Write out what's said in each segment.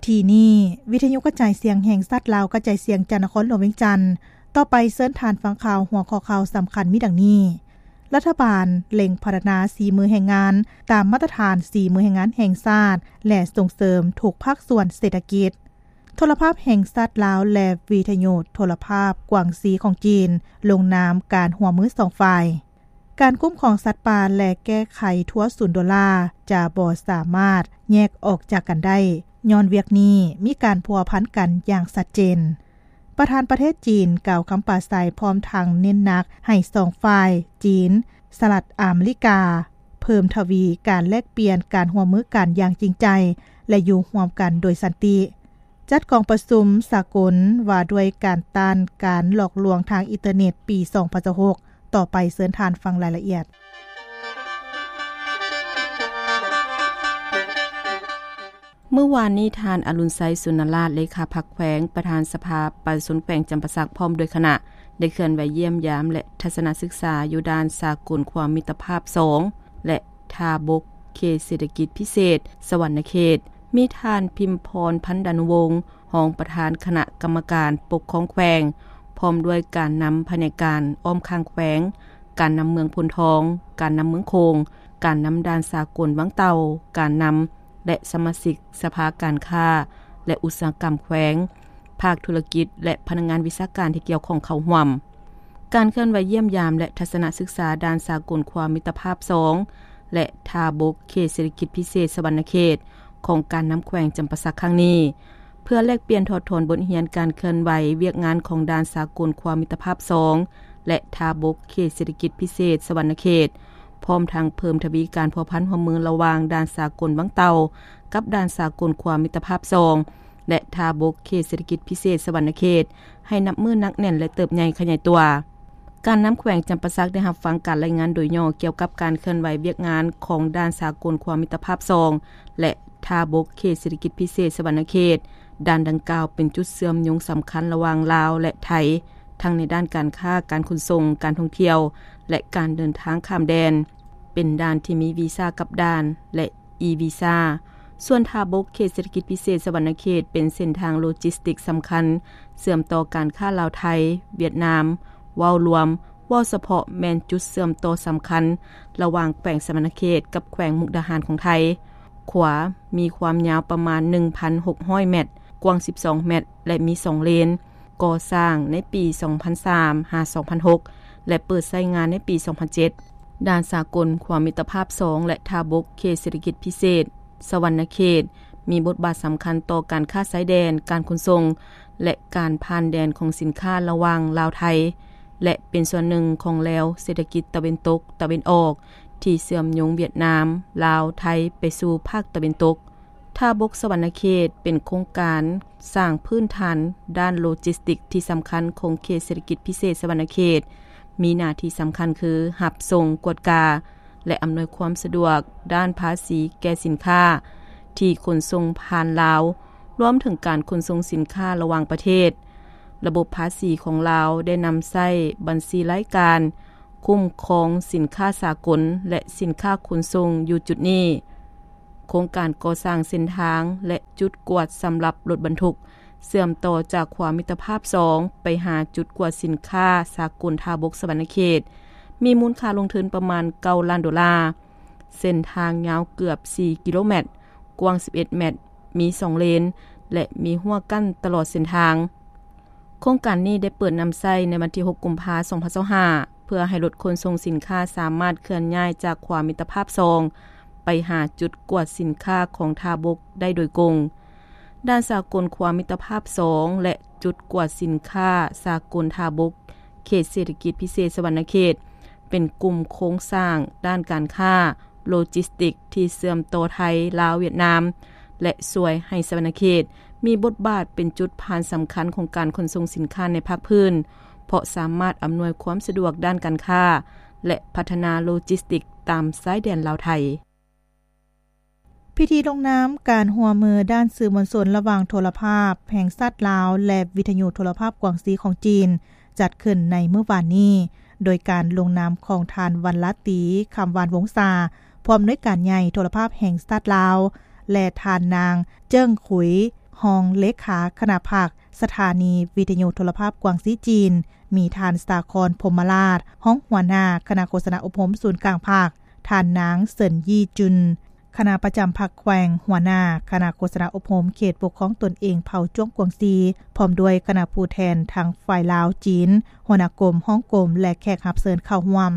ທີ່ນີ້ ວິທະຍຸກະຈາຍສຽງແຫ່ງຊາດລາວ ກະຈາຍສຽງຈາກນະຄອນຫຼວງວຽງຈັນ. ຕໍ່ໄປເຊີນທ່ານຟັງຂ່າວ ຫົວຂໍ້ຂ່າວສຳຄັນມີດັ່ງນີ້: ລັດຖະບານເລັ່ງພັດທະນາສີມືແຮງງານ ຕາມມາດຕະຖານສີມືແຮງງານແຫ່ງຊາດ ແລະ ສົ່ງເສີມທຸກພາກສ່ວນເສດຖະກິດ. ໂທລະພາບແຫ່ງຊາດລາວ ແລະ ວິທະຍຸໂທລະພາບກວາງຊີຂອງຈີນ ລົງນາມການຮ່ວມມືສອງຝ່າຍ. ການຄຸ້ມຄອງສັດປ່າ ແລະ ແກ້ໄຂທົວສູນໂດລາ ຈະບໍ່ສາມາດແຍກອອກຈາກກັນໄດ້, ຍ້ອນວຽກນີ້ມີການພົວພັນກັນຢ່າງຊັດເຈນ. ປະທານປະເທດຈີນກ່າວຄຳປາໄສ ພ້ອມທັງເນັ້ນໜັກໃຫ້ສອງຝ່າຍ ຈີນ, ສະຫະລັດອາເມລິກາ ເພີ່ມທະວີການແລກປ່ຽນການຮ່ວມມືກັນຢ່າງຈິງໃຈ ແລະ ຢູ່ຮ່ວມກັນໂດຍສັນຕິ. ຈັດກອງປະຊຸມສາກົນວ່າດ້ວຍການຕ້ານການຫຼອກລວງທາງອິນເຕີເນັດປີສອງພັນຊາວຫົກ. ຕໍ່ໄປເຊີນທ່ານຟັງລາຍລະອຽດ. ມື້ວານນີ້ ທ່ານ ອະລຸນໄຊ ສຸນນະລາດ ເລຂາພັກແຂວງ, ປະທານສະພາປະຊາຊົນແຂວງຈຳປາສັກ ພ້ອມດ້ວຍຄະນະ ໄດ້ເຄື່ອນໄຫວຢ້ຽມຢາມ ແລະ ທັດສະນະສຶກສາຢູ່ດ່ານສາກົນຄວາມມິດຕະພາບສອງ ແລະ ທ່າບົກ ເຂດເສດຖະກິດພິເສດສະຫວັນນະເຂດ. ມີທ່ານ ພິມພອນ ພັນດານຸວົງ ຮອງປະທານຄະນະກຳມະການປົກຄອງແຂວງ, ພ້ອມດ້ວຍການນຳພະແນກການອ້ອມຂ້າງແຂວງ, ການນຳເມືອງໂພນທອງ, ການນຳເມືອງໂຂງ, ການນຳດ່ານສາກົນວັງເຕົ່າ, ການນຳ ແລະ ສະມາຊິກສະພາການຄ້າ ແລະ ອຸດສາຫະກຳແຂວງ, ພາກທຸລະກິດ ແລະ ພະນັກງານວິຊາການທີ່ກ່ຽວຂ້ອງເຂົ້າຮ່ວມ. ການເຄື່ອນໄຫວຢ້ຽມຢາມ ແລະ ທັດສະນະສຶກສາດ່ານສາກົນຄວາມມິດຕະພາບສອງ ແລະ ທ່າບົກເຂດເສດຖະກິດພິເສດສະຫວັນນະເຂດ ຂອງການນຳແຂວງຈຳປາສັກຄັ້ງນີ້ ເພື່ອແລກປ່ຽນຖອດຖອນບົດຮຽນການເຄື່ອນໄຫວວຽກງານຂອງດ່ານສາກົນຄວາມມິດຕະພາບສອງ ແລະ ທ່າບົກເຂດເສດຖະກິດພິເສດສະຫວັນນະເຂດ, ພ້ອມທັງເພີ່ມທະວີການພົວພັນຮ່ວມມືລະຫວ່າງດ່ານສາກົນວັງເຕົ່າ ກັບດ່ານສາກົນຄວາມມິດຕະພາບສອງ ແລະ ທ່າບົກເຂດເສດຖະກິດພິເສດສະຫວັນນະເຂດ ໃຫ້ນັບມື້ໜັກແໜ້ນ ແລະ ເຕີບໃຫຍ່ຂະຫຍາຍຕົວ. ການນຳແຂວງຈຳປາສັກໄດ້ຮັບຟັງການລາຍງານໂດຍຫຍໍ້ກ່ຽວກັບການເຄື່ອນໄຫວວຽກງານຂອງດ່ານສາກົນຄວາມມິດຕະພາບສອງ ແລະ ທ່າບົກເຂດເສດຖະກິດພິເສດສະຫວັນນະເຂດ. ດ່ານດັ່ງກ່າວເປັນຈຸດເຊື່ອມໂຍງສຳຄັນລະຫວ່າງລາວ ແລະ ໄທ, ທັງໃນດ້ານການຄ້າ, ການຂົນສົ່ງ, ການທ່ອງທ່ຽວ ແລະ ການເດີນທາງຂ້າມແດນ. ເປັນດ່ານທີ່ມີວີຊາກັບດ່ານ ແລະ ອີ-ວີຊາ. ສ່ວນທ່າບົກເຂດເສດຖະກິດພິເສດສະຫວັນນະເຂດ ເປັນເສັ້ນທາງໂລຈິສຕິກສຳຄັນ ເຊື່ອມຕໍ່ການຄ້າລາວ-ໄທ, ຫວຽດນາມ. ເວົ້າລວມ, ເວົ້າສະເພາະແມ່ນຈຸດເຊື່ອມຕໍ່ສຳຄັນລະຫວ່າງແຂວງສະຫວັນນະເຂດກັບແຂວງມຸກດາຫານຂອງໄທ. ຂົວມີຄວາມຍາວປະມານໜຶ່ງພັນຫົກຮ້ອຍແມັດ, ກວ້າງສິບສອງແມັດ ແລະ ມີສອງເລນ. ກໍ່ສ້າງໃນປີສອງພັນສາມຫາສອງພັນຫົກ ແລະ ເປີດໃຊ້ງານໃນປີສອງພັນເຈັດ. ດ່ານສາກົນຄວາມມິດຕະພາບສອງ ແລະ ທ່າບົກເຂດເສດຖະກິດພິເສດສະຫວັນນະເຂດ ມີບົດບາດສຳຄັນຕໍ່ການຄ້າຊາຍແດນ, ການຂົນສົ່ງ ແລະ ການຜ່ານແດນຂອງສິນຄ້າລະຫວ່າງລາວ-ໄທ ແລະ ເປັນສ່ວນໜຶ່ງຂອງແລວເສດຖະກິດຕາເວັນຕົກ-ຕາເວັນອອກ ທີ່ເຊື່ອມໂຍງຫວຽດນາມ, ລາວ, ໄທ ໄປສູ່ພາກຕາເວັນຕົກ. ທ່າບົກສະຫວັນນະເຂດ ເປັນໂຄງການສ້າງພື້ນຖານດ້ານໂລຈິສຕິກທີ່ສຳຄັນຂອງເຂດເສດຖະກິດພິເສດສະຫວັນນະເຂດ, ມີໜ້າທີ່ສຳຄັນຄື ຮັບສົ່ງ, ກວດກາ ແລະ ອຳນວຍຄວາມສະດວກດ້ານພາສີແກ່ສິນຄ້າທີ່ຂົນສົ່ງຜ່ານລາວ, ລວມເຖິງການຂົນສົ່ງສິນຄ້າລະຫວ່າງປະເທດ. ລະບົບພາສີຂອງລາວໄດ້ນຳໃຊ້ບັນຊີລາຍການຄຸ້ມຄອງສິນຄ້າສາກົນ ແລະ ສິນຄ້າຂົນສົ່ງຢູ່ຈຸດນີ້. ໂຄງການກໍ່ສ້າງເສັ້ນທາງ ແລະ ຈຸດກວດສຳລັບລົດບັນທຸກ ເຊື່ອມຕໍ່ຈາກຂົວມິດຕະພາບສອງ ໄປຫາຈຸດກວດສິນຄ້າສາກົນທ່າບົກສະຫວັນນະເຂດ ມີມູນຄ່າລົງທຶນປະມານເກົ້າລ້ານໂດລາ. ເສັ້ນທາງຍາວເກືອບສີ່ກິໂລແມັດ, ກວ້າງສິບເອັດແມັດ, ມີສອງເລນ ແລະ ມີຮົ້ວກັ້ນຕະຫຼອດເສັ້ນທາງ. ໂຄງການນີ້ໄດ້ເປີດນຳໃຊ້ໃນວັນທີຫົກ ກຸມພາ ສອງພັນຊາວຫ້າ ເພື່ອໃຫ້ລົດຂົນສົ່ງສິນຄ້າສາມາດເຄື່ອນຍ້າຍຈາກຂົວມິດຕະພາບສອງ ໄປຫາຈຸດກວດສິນຄ້າຂອງທ່າບົກໄດ້ໂດຍກົງ. ດ່ານສາກົນຂົວມິດຕະພາບສອງ ແລະ ຈຸດກວດສິນຄ້າສາກົນທ່າບົກ ເຂດເສດຖະກິດພິເສດສະຫວັນນະເຂດ ເປັນກຸ່ມໂຄງສ້າງດ້ານການຄ້າໂລຈິສຕິກທີ່ເຊື່ອມຕໍ່ໄທ, ລາວ, ຫວຽດນາມ ແລະ ຊ່ວຍໃຫ້ສະຫວັນນະເຂດມີບົດບາດເປັນຈຸດຜ່ານສຳຄັນຂອງການຂົນສົ່ງສິນຄ້າໃນພາກພື້ນ, ເພາະສາມາດອຳນວຍຄວາມສະດວກດ້ານການຄ້າ ແລະ ພັດທະນາໂລຈິສຕິກຕາມຊາຍແດນລາວ-ໄທ. ພິທີລົງນາມການຮ່ວມມືດ້ານສື່ມວນຊົນລະຫວ່າງໂທລະພາບແຫ່ງຊາດລາວ ແລະ ວິທະຍຸໂທລະພາບກວາງຊີຂອງຈີນ ຈັດຂຶ້ນໃນມື້ວານນີ້ ໂດຍການລົງນາມຂອງທ່ານ ວັນລາຕີ ຄຳຫວານວົງສາ ຜູ້ອຳນວຍການໃຫຍ່ໂທລະພາບແຫ່ງຊາດລາວ ແລະ ທ່ານນາງ ເຈິ້ງ ຂຸຍ ຮອງເລຂາຄະນະພັກ ສະຖານີວິທະຍຸໂທລະພາບກວາງຊີຈີນ, ມີທ່ານ ສາຄອນ ພົມມະລາດ ຮອງຫົວໜ້າຄະນະໂຄສະນາອົບຮົມສູນກາງພັກ, ທ່ານນາງ ເສີນຢີຈຸນ ຄະນະປະຈຳພັກແຂວງ, ຫົວໜ້າຄະນະໂຄສະນາອົບຮົມເຂດປົກຄອງຕົນເອງເຜົ່າຈວງກວາງຊີ, ພ້ອມດ້ວຍຄະນະຜູ້ແທນທັງຝ່າຍລາວ, ຈີນ, ຫົວໜ້າກົມ, ຮອງກົມ ແລະ ແຂກຮັບເຊີນເຂົ້າຮ່ວມ.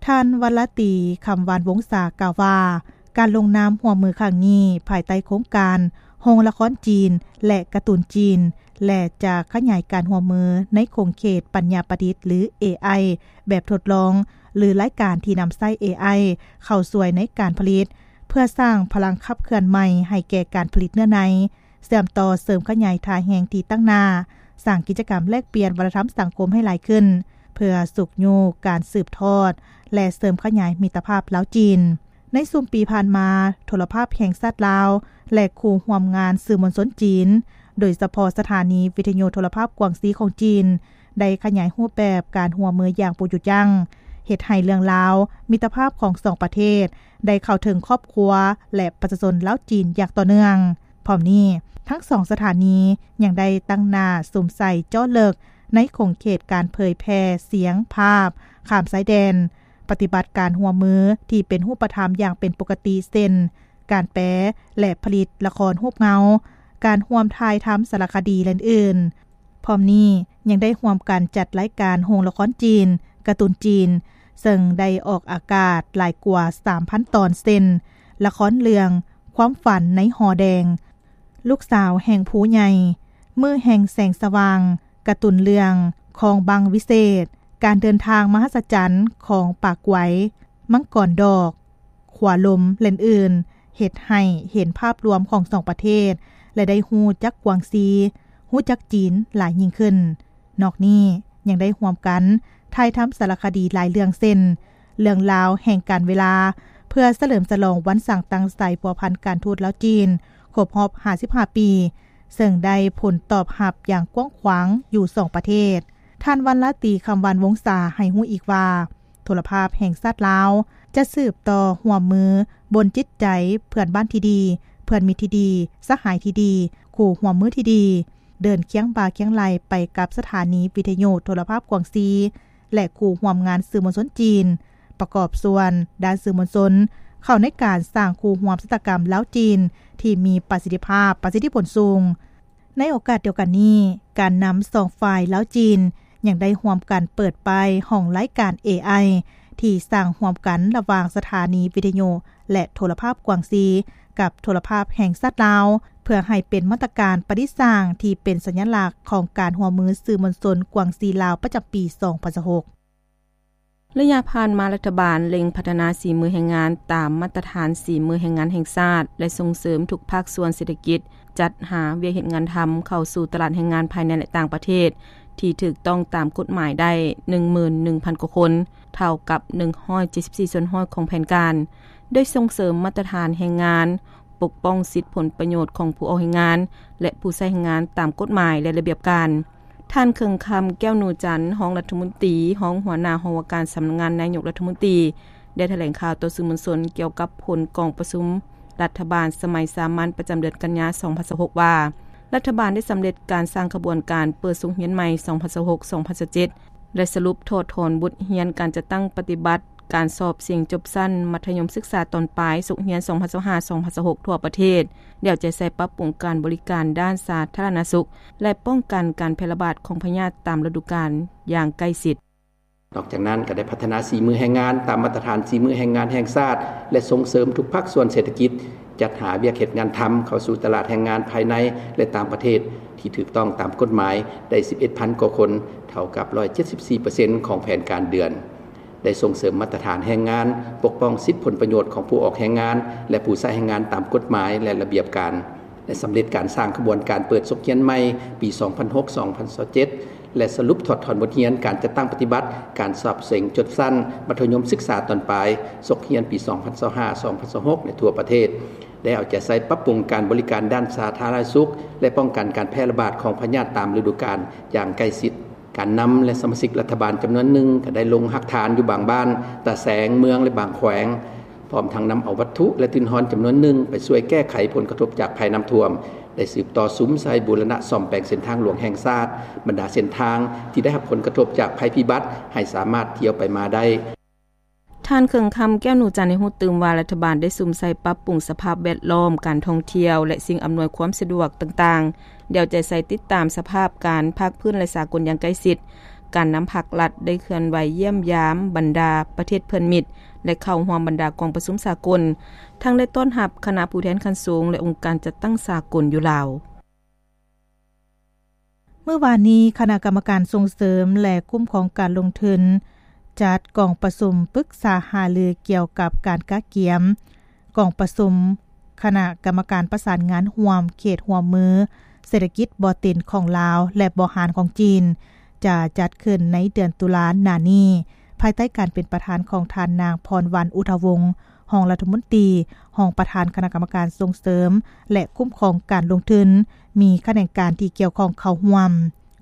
ທ່ານ ວັນລະຕີ ຄຳວານວົງສາ ກ່າວວ່າ ການລົງນາມຮ່ວມມືຄັ້ງນີ້ ພາຍໃຕ້ໂຄງການໂຮງລະຄອນຈີນ ແລະ ກາຕູນຈີນ ແລະ ຈະຂະຫຍາຍການຮ່ວມມືໃນຂົງເຂດປັນຍາປະດິດ ຫຼື ເອໄອ ແບບທົດລອງ ຫຼື ລາຍການທີ່ນຳໃຊ້ ເອໄອ ເຂົ້າຊ່ວຍໃນການຜະລິດ ເພື່ອສ້າງພະລັງຂັບເຄື່ອນໃໝ່ໃຫ້ແກ່ການຜະລິດເນື້ອໃນ, ເຊື່ອມຕໍ່ເສີມຂະຫຍາຍທ່າແຮງທີ່ຕັ້ງໜ້າ, ສ້າງກິດຈະກຳແລກປ່ຽນວັດທະນະທຳສັງຄົມໃຫ້ຫຼາຍຂຶ້ນ, ເພື່ອຊຸກຍູ້ການສືບທອດ ແລະ ເສີມຂະຫຍາຍມິດຕະພາບລາວ-ຈີນ. ໃນຊຸມປີຜ່ານມາ, ໂທລະພາບແຫ່ງຊາດລາວ ແລະ ຄູ່ຮ່ວມງານສື່ມວນຊົນຈີນ, ໂດຍສະເພາະສະຖານີວິທະຍຸໂທລະພາບກວາງຊີຂອງຈີນ, ໄດ້ຂະຫຍາຍຮູບແບບການຮ່ວມມືຢ່າງບໍ່ຢຸດຢັ້ງ, ເຮັດໃຫ້ເລື່ອງລາວມິດຕະພາບຂອງສອງປະເທດ ໄດ້ເຂົ້າເຖິງຄອບຄົວ ແລະ ປະຊາຊົນລາວ-ຈີນຢ່າງຕໍ່ເນື່ອງ. ພ້ອມນີ້, ທັງສອງສະຖານີຍັງໄດ້ຕັ້ງໜ້າສຸມໃສ່ເຈາະເລິກໃນຂົງເຂດການເຜີຍແຜ່ສຽງພາບຂ້າມຊາຍແດນ, ປະຕິບັດການຮ່ວມມືທີ່ເປັນຮູບປະທຳຢ່າງເປັນປົກກະຕິ ເຊັ່ນ ການແປ ແລະ ຜະລິດລະຄອນຮູບເງົາ, ການຮ່ວມຖ່າຍທຳສາລະຄະດີ ແລະ ອື່ນໆ. ພ້ອມນີ້ຍັງໄດ້ຮ່ວມກັນຈັດລາຍການໂຮງລະຄອນຈີນ, ກາຕູນຈີນ, ເຊິ່ງໄດ້ອອກອາກາດຫຼາຍກວ່າສາມພັນຕອນ ເຊັ່ນ ລະຄອນເລື່ອງຄວາມຝັນໃນຫໍແດງ, ລູກສາວແຫ່ງພູໃຫຍ່, ມື້ແຫ່ງແສງສະຫວ່າງ, ກາຕູນເລື່ອງຄອງບັງວິເສດ, ການເດີນທາງມະຫັດສະຈັນຂອງປາກໄວ, ມັງກອນດອກ, ຂົວລົມ ແລະ ອື່ນ, ເຮັດໃຫ້ເຫັນພາບລວມຂອງສອງປະເທດ ແລະ ໄດ້ຮູ້ຈັກກວາງຊີ, ຮູ້ຈັກຈີນຫຼາຍຍິ່ງຂຶ້ນ. ນອກນີ້ຍັງໄດ້ຮ່ວມກັນຖ່າຍທຳສາລະຄະດີຫຼາຍເລື່ອງ ເຊັ່ນ ເລື່ອງລາວແຫ່ງການເວລາ ເພື່ອສະເຫຼີມສະຫຼອງວັນສ້າງຕັ້ງສາຍພົວພັນການທູດລາວ-ຈີນ ຄົບຮອບຫ້າສິບຫ້າປີ, ເຊິ່ງໄດ້ຜົນຕອບຮັບຢ່າງກວ້າງຂວາງຢູ່ສອງປະເທດ. ທ່ານ ວັນລະຕີ ຄຳວານວົງສາ ໃຫ້ຮູ້ອີກວ່າ ໂທລະພາບແຫ່ງຊາດລາວ ຈະສືບຕໍ່ຮ່ວມມືບົນຈິດໃຈເພື່ອນບ້ານທີ່ດີ, ເພື່ອນມິດທີ່ດີ, ສະຫາຍທີ່ດີ, ຄູ່ຮ່ວມມືທີ່ດີ, ເດີນຄຽງບ່າຄຽງໄຫຼ່ໄປກັບສະຖານີວິທະຍຸໂທລະພາບກວາງຊີ ແລະ ຄູ່ຮ່ວມງານສື່ມວນຊົນຈີນ, ປະກອບສ່ວນດ້ານສື່ມວນຊົນ ເຂົ້າໃນການສ້າງຄູ່ຮ່ວມຊະຕາກຳລາວ-ຈີນ ທີ່ມີປະສິດທິພາບ, ປະສິດທິຜົນສູງ. ໃນໂອກາດດຽວກັນນີ້, ການນຳສອງຝ່າຍລາວ-ຈີນ ຍັງໄດ້ຮ່ວມກັນເປີດປ້າຍຫ້ອງລາຍການ ເອໄອ ທີ່ສ້າງຮ່ວມກັນລະຫວ່າງສະຖານີວິທະຍຸ ແລະ ໂທລະພາບກວາງຊີ ກັບໂທລະພາບແຫ່ງຊາດລາວ ເພື່ອໃຫ້ເປັນມາດຕະການປະດິດສ້າງທີ່ເປັນສັນຍະລັກຂອງການຮ່ວມມືສື່ມວນຊົນກວາງຊີ-ລາວ ປະຈຳປີສອງພັນຊາວຫົກ. ໄລຍະຜ່ານມາ, ລັດຖະບານເລັ່ງພັດທະນາສີມືແຮງງານຕາມມາດຕະຖານສີມືແຮງງານແຫ່ງຊາດ ແລະ ສົ່ງເສີມທຸກພາກສ່ວນເສດຖະກິດ ຈັດຫາວຽກເຮັດງານທຳເຂົ້າສູ່ຕະຫຼາດແຮງງານພາຍໃນ ແລະ ຕ່າງປະເທດ ທີ່ຖືກຕ້ອງຕາມກົດໝາຍໄດ້ ໜຶ່ງໝື່ນໜຶ່ງພັນກວ່າຄົນ, ເທົ່າກັບ ໜຶ່ງຮ້ອຍເຈັດສິບສີ່ສ່ວນຮ້ອຍຂອງແຜນການ, ໂດຍສົ່ງເສີມມາດຕະຖານແຮງງານ, ປົກປ້ອງສິດຜົນປະໂຫຍດຂອງຜູ້ອອກແຮງງານ ແລະ ຜູ້ໃຊ້ແຮງງານຕາມກົດໝາຍ ແລະ ລະບຽບການ. ທ່ານ ເຄິ່ງຄຳ ແກ້ວນູຈັນ, ຮອງລັດຖະມົນຕີ, ຮອງຫົວໜ້າຫ້ອງວ່າການສຳນັກງານນາຍົກລັດຖະມົນຕີ, ໄດ້ຖະແຫຼງຂ່າວຕໍ່ສື່ມວນຊົນກ່ຽວກັບຜົນກອງປະຊຸມລັດຖະບານສະໄໝສາມັນປະຈຳເດືອນກັນຍາ ສອງພັນຊາວຫົກ ວ່າ ລັດຖະບານໄດ້ສຳເລັດການສ້າງຂະບວນການເປີດສົກຮຽນໃໝ່ ສອງພັນຊາວຫົກ ສອງພັນຊາວເຈັດ ແລະ ສະຫຼຸບຖອດຖອນບົດຮຽນການຈັດຕັ້ງປະຕິບັດການສອບເສັງຈົບຊັ້ນມັດທະຍົມສຶກສາຕອນປາຍສົກຮຽນ ສອງພັນຊາວຫ້າ ສອງພັນຊາວຫົກ ທົ່ວປະເທດ, ແລ້ວຈະໃຊ້ປັບປຸງການບໍລິການດ້ານສາທາລະນະສຸກ ແລະ ປ້ອງກັນການແຜ່ລະບາດຂອງພະຍາດຕາມລະດູການຢ່າງໃກ້ຊິດ. ນອກຈາກນັ້ນ, ກໍໄດ້ພັດທະນາສີມືແຮງງານຕາມມາດຕະຖານສີມືແຮງງານແຫ່ງຊາດ ແລະ ສົ່ງເສີມທຸກພາກສ່ວນເສດຖະກິດ, ຈັດຫາວຽກເຮັດງານທຳເຂົ້າສູ່ຕະຫຼາດແຮງງານພາຍໃນ ແລະ ຕ່າງປະເທດ ທີ່ຖືກຕ້ອງຕາມກົດໝາຍໄດ້ ສິບເອັດພັນກວ່າຄົນ, ເທົ່າກັບ ຮ້ອຍເຈັດສິບສີ່ເປີເຊັນຂອງແຜນການເດືອນ. ໄດ້ສົ່ງເສີມມາດຕະຖານແຮງງານ, ປົກປ້ອງສິດຜົນປະໂຫຍດຂອງຜູ້ອອກແຮງງານ ແລະ ຜູ້ໃຊ້ແຮງງານຕາມກົດໝາຍ ແລະ ລະບຽບການ, ໄດ້ສຳເລັດການສ້າງຂະບວນການເປີດສົກຮຽນໃໝ່ປີສອງພັນຫົກ ສອງພັນຊາວເຈັດ ແລະ ສະຫຼຸບຖອດຖອນບົດຮຽນການຈັດຕັ້ງປະຕິບັດການສອບເສັງຈົບຊັ້ນມັດທະຍົມສຶກສາຕອນປາຍສົກຮຽນປີສອງພັນຊາວຫ້າ ສອງພັນຊາວຫົກ ໃນທົ່ວປະເທດ, ໄດ້ເອົາໃຈໃສ່ປັບປຸງການບໍລິການດ້ານສາທາລະນະສຸກ ແລະ ປ້ອງກັນການແຜ່ລະບາດຂອງພະຍາດຕາມລະດູການຢ່າງໃກ້ຊິດ. ການນຳ ແລະ ສະມາຊິກລັດຖະບານຈຳນວນໜຶ່ງກໍໄດ້ລົງຮາກຖານຢູ່ບາງບ້ານ, ຕາແສງ, ເມືອງ ແລະ ບາງແຂວງ, ພ້ອມທັງນຳເອົາວັດຖຸ ແລະ ທຶນຮອນຈຳນວນໜຶ່ງ ໄປຊ່ວຍແກ້ໄຂຜົນກະທົບຈາກໄພນ້ຳຖ້ວມ, ໄດ້ສືບຕໍ່ສຸມໃສ່ບູລະນະສ້ອມແປງເສັ້ນທາງຫຼວງແຫ່ງຊາດ, ບັນດາເສັ້ນທາງທີ່ໄດ້ຮັບຜົນກະທົບຈາກໄພພິບັດ ໃຫ້ສາມາດທຽວໄປມາໄດ້. ທ່ານ ເຄິ່ງຄຳ ແກ້ວໜູຈັນ ໃຫ້ຮູ້ຕື່ມວ່າ ລັດຖະບານໄດ້ສຸມໃສ່ປັບປຸງສະພາບແວດລ້ອມ, ການທ່ອງທ່ຽວ ແລະ ສິ່ງອຳນວຍຄວາມສະດວກຕ່າງໆ, ເອົາໃຈໃສ່ຕິດຕາມສະພາບການພາກພື້ນ ແລະ ສາກົນຢ່າງໃກ້ຊິດ. ການນຳພັກລັດໄດ້ເຄື່ອນໄຫວຢ້ຽມຢາມບັນດາປະເທດເພື່ອນມິດ ແລະ ເຂົ້າຮ່ວມບັນດາກອງປະຊຸມສາກົນ, ທັງໄດ້ຕ້ອນຮັບຄະນະຜູ້ແທນຂັ້ນສູງ ແລະ ອົງການຈັດຕັ້ງສາກົນຢູ່ລາວ. ມື້ວານນີ້, ຄະນະກຳມະການສົ່ງເສີມ ແລະ ຄຸ້ມຄອງການລົງທຶນ ຈັດກອງປະຊຸມປຶກສາຫາລືກ່ຽວກັບການກະກຽມກອງປະຊຸມຄະນະກຳມະການປະສານງານຮ່ວມເຂດຮ່ວມມືເສດຖະກິດບໍ່ເຕັນຂອງລາວ ແລະ ບໍ່ຮ້ານຂອງຈີນ, ຈະຈັດຂຶ້ນໃນເດືອນຕຸລາໜ້ານີ້, ພາຍໃຕ້ການເປັນປະທານຂອງທ່ານນາງ ພອນວັນ ອຸດທະວົງ ຮອງລັດຖະມົນຕີ, ຮອງປະທານຄະນະກຳມະການສົ່ງເສີມ ແລະ ຄຸ້ມຄອງການລົງທຶນ, ມີຂະແໜງການທີ່ກ່ຽວຂ້ອງເຂົ້າຮ່ວມ.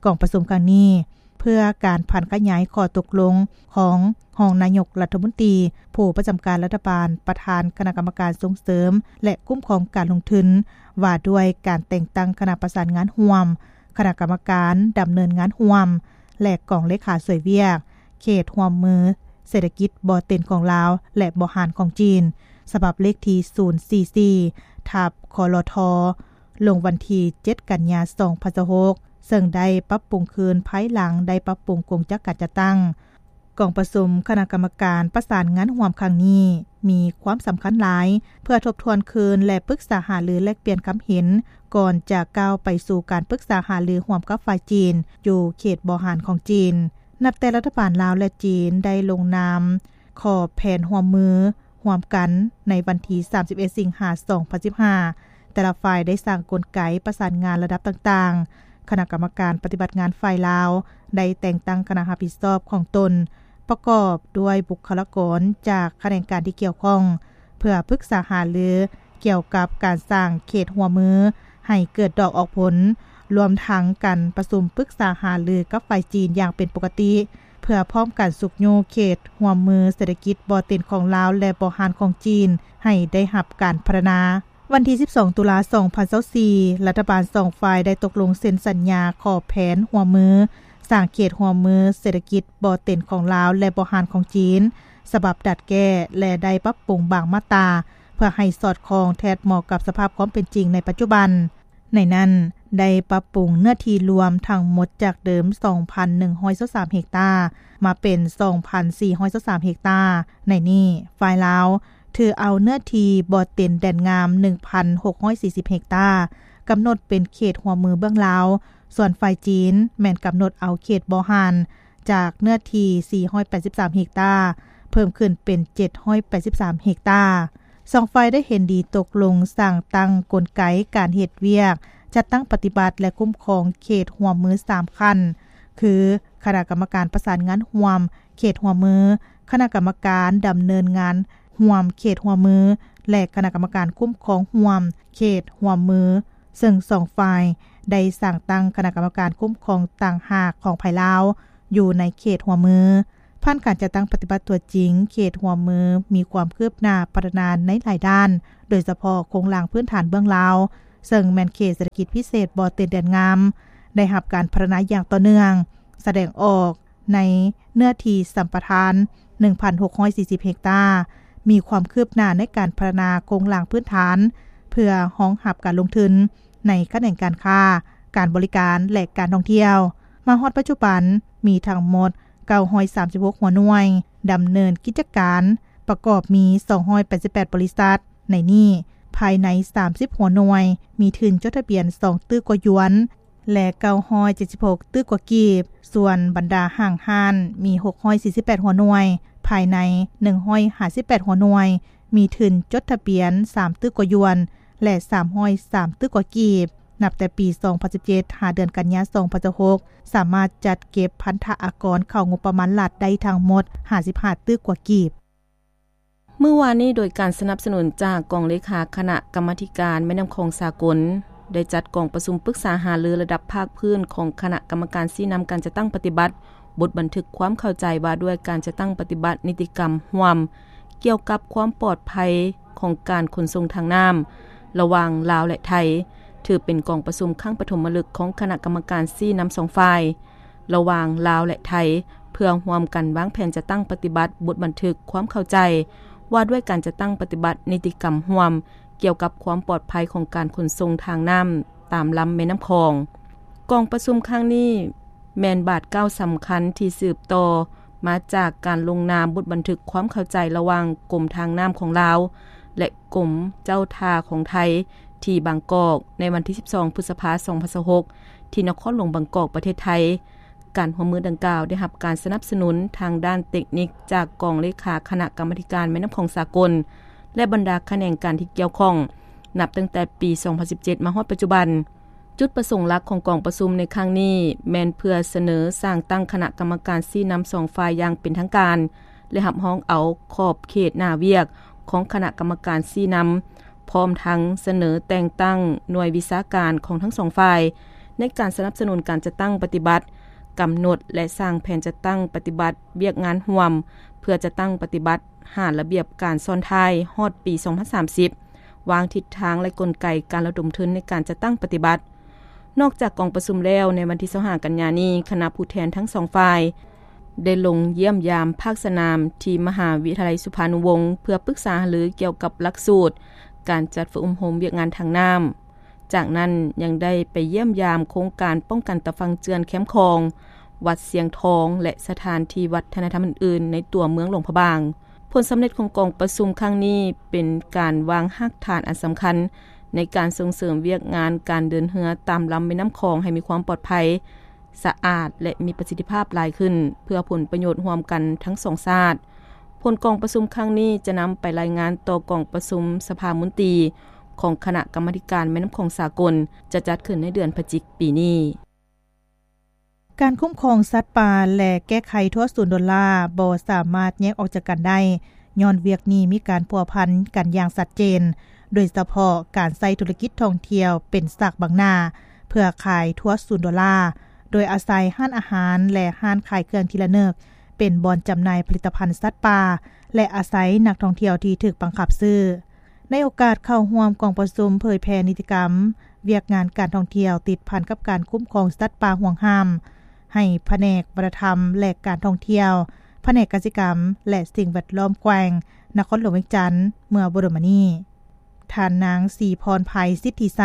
ກອງປະຊຸມຄັ້ງນີ້ ເພື່ອການຜັນຂະຫຍາຍຂໍ້ຕົກລົງຂອງຮອງນາຍົກລັດຖະມົນຕີ, ຜູ້ປະຈຳການລັດຖະບານ, ປະທານຄະນະກຳມະການສົ່ງເສີມ ແລະ ຄຸ້ມຄອງການລົງທຶນ ວ່າດ້ວຍການແຕ່ງຕັ້ງຄະນະປະສານງານຮ່ວມ, ຄະນະກຳມະການດຳເນີນງານຮ່ວມ ແລະ ກອງເລຂາຊ່ວຍວຽກ ເຂດຮ່ວມມືເສດຖະກິດບໍ່ເຕັນຂອງລາວ ແລະ ບໍ່ຮ້ານຂອງຈີນ ສະບັບເລກທີ ສູນສີ່ສີ່ ທັບ ຄລທ ລົງວັນທີ ເຈັດ ກັນຍາ ສອງພັນຊາວຫົກ ເຊິ່ງໄດ້ປັບປຸງຄືນພາຍຫຼັງໄດ້ປັບປຸງກົງຈັກການຈັດຕັ້ງ. ກອງປະຊຸມຄະນະກຳມະການປະສານງານຮ່ວມຄັ້ງນີ້ ມີຄວາມສຳຄັນຫຼາຍ ເພື່ອທົບທວນຄືນ ແລະ ປຶກສາຫາລືແລກປ່ຽນຄຳເຫັນ ກ່ອນຈະກ້າວໄປສູ່ການປຶກສາຫາລືຮ່ວມກັບຝ່າຍຈີນ ຢູ່ເຂດບໍ່ຮ້ານຂອງຈີນ. ນັບແຕ່ລັດຖະບານລາວ ແລະ ຈີນ ໄດ້ລົງນາມຂໍແຜນຮ່ວມມືຮ່ວມກັນໃນວັນທີ ສາມສິບເອັດ ສິງຫາ ສອງພັນສິບຫ້າ ແຕ່ລະຝ່າຍໄດ້ສ້າງກົນໄກປະສານງານລະດັບຕ່າງໆ. ຄະນະກຳມະການປະຕິບັດງານຝ່າຍລາວ ໄດ້ແຕ່ງຕັ້ງຄະນະຮັບຜິດຊອບຂອງຕົນ ປະກອບດ້ວຍບຸກຄະລາກອນຈາກຂະແໜງການທີ່ກ່ຽວຂ້ອງ ເພື່ອປຶກສາຫາລືກ່ຽວກັບການສ້າງເຂດຮ່ວມມືໃຫ້ເກີດດອກອອກຜົນ, ລວມທັງການປະຊຸມປຶກສາຫາລືກັບຝ່າຍຈີນຢ່າງເປັນປົກກະຕິ ເພື່ອພ້ອມກັນຊຸກຍູ້ເຂດຮ່ວມມືເສດຖະກິດບໍ່ເຕັນຂອງລາວ ແລະ ບໍ່ຮ້ານຂອງຈີນ ໃຫ້ໄດ້ຮັບການພັດທະນາ. ວັນທີ ສິບສອງ ຕຸລາ ສອງພັນຊາວສີ່ ລັດຖະບານສອງຝ່າຍໄດ້ຕົກລົງເຊັນສັນຍາຂໍແຜນຮ່ວມມື ສ້າງເຂດຮ່ວມມືເສດຖະກິດບໍ່ເຕັນຂອງລາວ ແລະ ບໍ່ຮ້ານຂອງຈີນ ສະບັບດັດແກ້ ແລະ ໄດ້ປັບປຸງບາງມາດຕາ ເພື່ອໃຫ້ສອດຄ່ອງແທດເໝາະກັບສະພາບຄວາມເປັນຈິງໃນປັດຈຸບັນ. ໃນນັ້ນ ໄດ້ປັບປຸງເນື້ອທີ່ລວມທັງໝົດຈາກເດີມ ສອງພັນໜຶ່ງຮ້ອຍຊາວສາມເຮັກຕາ ມາເປັນ ສອງພັນສີ່ຮ້ອຍຊາວສາມເຮັກຕາ. ໃນນີ້ ຝ່າຍລາວຖືເອົາເນື້ອທີ່ບໍ່ເຕັນແດນງາມ ໜຶ່ງພັນຫົກຮ້ອຍສີ່ສິບເຮັກຕາ ກຳນົດເປັນເຂດຮ່ວມມືເບື້ອງລາວ, ສ່ວນຝ່າຍຈີນແມ່ນກຳນົດເອົາເຂດບໍ່ຮ້ານ ຈາກເນື້ອທີ່ ສີ່ຮ້ອຍແປດສິບສາມເຮັກຕາ ເພີ່ມຂຶ້ນເປັນ ເຈັດຮ້ອຍແປດສິບສາມເຮັກຕາ. ສອງຝ່າຍໄດ້ເຫັນດີຕົກລົງສ້າງຕັ້ງກົນໄກການເຮັດວຽກ ຈັດຕັ້ງປະຕິບັດ ແລະ ຄຸ້ມຄອງເຂດຮ່ວມມືສາມຂັ້ນ ຄື ຄະນະກຳມະການປະສານງານຮ່ວມເຂດຮ່ວມມື, ຄະນະກຳມະການດຳເນີນງານຮ່ວມເຂດຮ່ວມມື ແລະ ຄະນະກຳມະການຄຸ້ມຄອງຮ່ວມເຂດຮ່ວມມື, ເຊິ່ງສອງຝ່າຍໄດ້ສ້າງຕັ້ງຄະນະກຳມະການຄຸ້ມຄອງຕ່າງຫາກຂອງຝ່າຍລາວ ຢູ່ໃນເຂດຮ່ວມມື. ຜ່ານການຈັດຕັ້ງປະຕິບັດຕົວຈິງ, ເຂດຮ່ວມມືມີຄວາມຄືບໜ້າພັດທະນາໃນຫຼາຍດ້ານ, ໂດຍສະເພາະໂຄງລ່າງພື້ນຖານເບື້ອງລາວ, ເຊິ່ງແມ່ນເຂດເສດຖະກິດພິເສດບໍ່ເຕັນແດນງາມ ໄດ້ຮັບການພັດທະນາຢ່າງຕໍ່ເນື່ອງ, ສະແດງອອກໃນເນື້ອທີ່ສຳປະທານ ໜຶ່ງພັນຫົກຮ້ອຍສີ່ສິບເຮັກຕາ, ມີຄວາມຄືບໜ້າໃນການພັດທະນາໂຄງລ່າງພື້ນຖານ ເພື່ອຮອງຮັບການລົງທຶນໃນຂະແໜງການຄ້າ, ການບໍລິການ ແລະ ການທ່ອງທ່ຽວ. ມາຮອດປັດຈຸບັນ ມີທັງໝົດ ເກົ້າຮ້ອຍສາມສິບຫົກຫົວໜ່ວຍດຳເນີນກິດຈະການ, ປະກອບມີ ສອງຮ້ອຍແປດສິບແປດບໍລິສັດ. ໃນນີ້, ພາຍໃນ ສາມສິບຫົວໜ່ວຍ ມີທຶນຈົດທະບຽນ ສອງຕື້ກວ່າຢວນ ແລະ ເກົ້າຮ້ອຍເຈັດສິບຫົກຕື້ກວ່າກີບ, ສ່ວນບັນດາຫ້າງຮ້ານ ມີ ຫົກຮ້ອຍສີ່ສິບແປດຫົວໜ່ວຍ, ພາຍໃນ ໜຶ່ງຮ້ອຍຫ້າສິບແປດຫົວໜ່ວຍ ມີທຶນຈົດທະບຽນ ສາມຕື້ກວ່າຢວນ ແລະ ສາມຮ້ອຍສາມຕື້ກວ່າກີບ. ນັບແຕ່ປີ ສອງພັນສິບເຈັດ ຫາເດືອນກັນຍາ ສອງພັນຊາວຫົກ ສາມາດຈັດເກັບພັນທະອາກອນເຂົ້າງົບປະມານລັດໄດ້ທັງໝົດ ຫ້າສິບຫ້າຕື້ກວ່າກີບ. ມື້ວານນີ້, ໂດຍການສະໜັບສະໜູນຈາກກອງເລຂາຄະນະກຳມາທິການແມ່ນ້ຳຂອງສາກົນ, ໄດ້ຈັດກອງປະຊຸມປຶກສາຫາລືລະດັບພາກພື້ນຂອງຄະນະກຳມະການຊີ້ນຳການຈັດຕັ້ງປະຕິບັດ ບົດບັນທຶກຄວາມເຂົ້າໃຈວ່າດ້ວຍການຈັດຕັ້ງປະຕິບັດນິຕິກຳຮ່ວມ ກ່ຽວກັບຄວາມປອດໄພຂອງການຂົນສົ່ງທາງນ້ຳລະຫວ່າງລາວ ແລະ ໄທ ຖືເປັນກອງປະຊຸມຄັ້ງປະຖົມມະລຶກຂອງຄະນະກຳມະການຊີ້ນຳສອງຝ່າຍລະຫວ່າງລາວ ແລະ ໄທ ເພື່ອຮ່ວມກັນວາງແຜນຈັດຕັ້ງປະຕິບັດບົດບັນທຶກຄວາມເຂົ້າໃຈວ່າດ້ວຍການຈັດຕັ້ງປະຕິບັດນິຕິກຳຮ່ວມ ກ່ຽວກັບຄວາມປອດໄພຂອງການຂົນສົ່ງທາງນ້ຳຕາມລຳແມ່ນ້ຳຂອງ. ກອງປະຊຸມຄັ້ງນີ້ແມ່ນບາດກ້າວສຳຄັນທີ່ສືບຕໍ່ມາຈາກການລົງນາມບົດບັນທຶກຄວາມເຂົ້າໃຈລະຫວ່າງກົມທາງນ້ຳຂອງລາວ ແລະ ກົມເຈົ້າທ່າຂອງໄທ ທີ່ບາງກອກ ໃນວັນທີສິບສອງ ພຶດສະພາ ສອງພັນຊາວຫົກ ທີ່ນະຄອນຫຼວງບາງກອກ ປະເທດໄທ. ການຮ່ວມມືດັ່ງກ່າວໄດ້ຮັບການສະໜັບສະໜູນທາງດ້ານເຕັກນິກຈາກກອງເລຂາຄະນະກຳມາທິການແມ່ນ້ຳຂອງສາກົນ ແລະ ບັນດາຂະແໜງການທີ່ກ່ຽວຂ້ອງ ນັບຕັ້ງແຕ່ປີສອງພັນສິບເຈັດ ມາຮອດປັດຈຸບັນ. ຈຸດປະສົງຫຼັກຂອງກອງປະຊຸມໃນຄັ້ງນີ້ ແມ່ນເພື່ອສະເໜີສ້າງຕັ້ງຄະນະກຳມະການຊີ້ນຳສອງຝ່າຍຢ່າງເປັນທາງການ ແລະ ຮັບຮອງເອົາຂອບເຂດໜ້າວຽກຂອງຄະນະກຳມະການຊີ້ນຳ ພ້ອມທັງສະເໜີແຕ່ງຕັ້ງໜ່ວຍວິຊາການຂອງທັງສອງຝ່າຍ ໃນການສະໜັບສະໜູນການຈັດຕັ້ງປະຕິບັດ, ກຳນົດ ແລະ ສ້າງແຜນຈັດຕັ້ງປະຕິບັດວຽກງານຮ່ວມ ເພື່ອຈັດຕັ້ງປະຕິບັດຫາລະບຽບການຊ້ອນທ້າຍຮອດປີສອງພັນສາມສິບ, ວາງທິດທາງ ແລະ ກົນໄກການລະດົມທຶນໃນການຈັດຕັ້ງປະຕິບັດ. ນອກຈາກກອງປະຊຸມແລ້ວ, ໃນວັນທີຊາວຫ້າ ກັນຍານີ້, ຄະນະຜູ້ແທນທັງສອງຝ່າຍ ໄດ້ລົງຢ້ຽມຢາມພາກສະໜາມທີ່ມະຫາວິທະຍາໄລສຸພານຸວົງ ເພື່ອປຶກສາຫາລືກ່ຽວກັບຫຼັກສູດການຈັດຝຶກອົບຮົມວຽກງານທາງນ້ຳ. ຈາກນັ້ນຍັງໄດ້ໄປຢ້ຽມຢາມໂຄງການປ້ອງກັນຕາຝັ່ງເຈື່ອນແຄມຂອງ, ວັດຊຽງທອງ ແລະ ສະຖານທີ່ວັດທະນະທຳອື່ນໆ ໃນຕົວເມືອງຫຼວງພະບາງ. ຜົນສຳເລັດຂອງກອງປະຊຸມຄັ້ງນີ້ເປັນການວາງຮາກຖານອັນສຳຄັນໃນການສົ່ງເສີມວຽກງານການເດີນເຮືອຕາມລຳແມ່ນ້ຳຂອງໃຫ້ມີຄວາມປອດໄພ, ສະອາດ ແລະ ມີປະສິດທິພາບຫຼາຍຂຶ້ນ ເພື່ອຜົນປະໂຫຍດຮ່ວມກັນທັງສອງຊາດ. ຜົນກອງປະຊຸມຄັ້ງນີ້ຈະນຳໄປລາຍງານຕໍ່ກອງປະຊຸມສະພາມົນຕີຂອງຄະນະກຳມາທິການແມ່ນ້ຳຂອງສາກົນ ຈະຈັດຂຶ້ນໃນເດືອນພະຈິກປີນີ້. ການຄຸ້ມຄອງສັດປ່າ ແລະ ແກ້ໄຂທົວສູນໂດລາ ບໍ່ສາມາດແຍກອອກຈາກກັນໄດ້, ຍ້ອນວຽກນີ້ມີການພົວພັນກັນຢ່າງຊັດເຈນ, ໂດຍສະເພາະການໃຊ້ທຸລະກິດທ່ອງທ່ຽວເປັນສາກບັງໜ້າ ເພື່ອຂາຍທົວສູນໂດລາ, ໂດຍອາໄສຮ້ານອາຫານ ແລະ ຮ້ານຂາຍເຄື່ອງທີ່ລະນຶກ ເປັນບ່ອນຈຳໜ່າຍຜະລິດຕະພັນສັດປ່າ ແລະ ອາໄສນັກທ່ອງທ່ຽວທີ່ຖືກບັງຄັບຊື້. ໃນໂອກາດເຂົ້າຮ່ວມກອງປະຊຸມເຜີຍແຜ່ນິຕິກຳວຽກງານການທ່ອງທ່ຽວຕິດພັນກັບການຄຸ້ມຄອງສັດປ່າຫວງຫ້າມ ໃຫ້ພະແນກວັດທະນະທຳ ແລະ ການທ່ອງທ່ຽວ, ພະແນກກະສິກຳ ແລະ ສິ່ງແວດລ້ອມແຂວງນະຄອນຫຼວງວຽງຈັນ ເມື່ອບໍ່ດົນມານີ້, ທ່ານນາງ ສີພອນໄພ ສິດທິໄຊ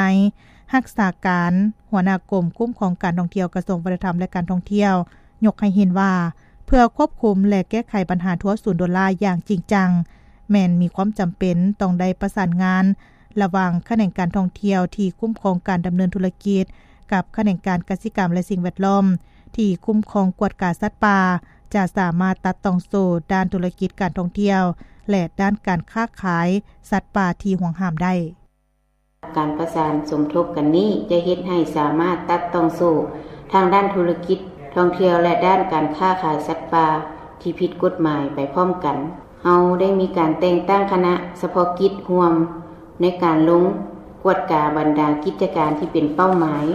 ຮັກສາການຫົວໜ້າກົມຄຸ້ມຄອງການທ່ອງທ່ຽວ ກະຊວງວັດທະນະທຳ ແລະ ການທ່ອງທ່ຽວ ຍົກໃຫ້ເຫັນວ່າ ເພື່ອຄວບຄຸມ ແລະ ແກ້ໄຂບັນຫາທົວສູນໂດລາຢ່າງຈິງຈັງ, ແມ່ນມີຄວາມຈຳເປັນຕ້ອງໄດ້ປະສານງານລະຫວ່າງຂະແໜງການທ່ອງທ່ຽວທີ່ຄຸ້ມຄອງການດຳເນີນທຸລະກິດ ກັບຂະແໜງການກະສິກຳ ແລະ ສິ່ງແວດລ້ອມທີ່ຄຸ້ມຄອງກວດກາສັດປ່າ ຈະສາມາດຕັດຕ່ອງໂສ້ດ້ານທຸລະກິດການທ່ອງທ່ຽວ ແລະ ດ້ານການຄ້າຂາຍສັດປ່າທີ່ຫວງຫ້າມໄດ້. ການປະສານສົມທົບກັນນີ້ຈະເຮັດໃຫ້ສາມາດຕັດຕ່ອງໂສ້ທາງດ້ານທຸລະກິດທ່ອງທ່ຽວ ແລະ ດ້ານການຄ້າຂາຍສັດປ່າທີ່ຜິດກົດໝາຍໄປພ້ອມກັນ. ເຮົາໄດ້ມີການແຕ່ງຕັ້ງຄະນະສະເພາະກິດຮ່ວມໃນການລົງກວດກາບັນດາກິດຈະການທີ່ເປັນເປົ້າໝາຍ,